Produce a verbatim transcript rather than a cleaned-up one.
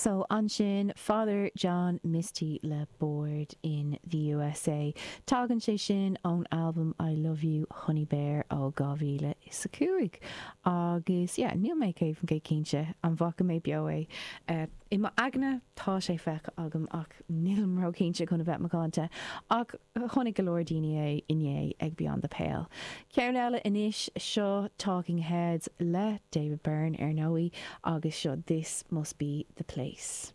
So ansin Father John Misty le Bored in the USA. Tagann sé sin ón albam I Love You Honey Bear ó dhá mhíle is a cúig. Agus yeah, níl mé céad faoin gcéad cinnte an bhfaca mé beo é. Uh, I m'aigne tá sé feicthe agam ach nílim róchinnte chun a bheith macánta ach chonaic go leor daoine é inné ag Beyond the Pale. Ceann eile anois seo Talking Heads le David Byrne ar ndóigh agus seo This Must Be the Place.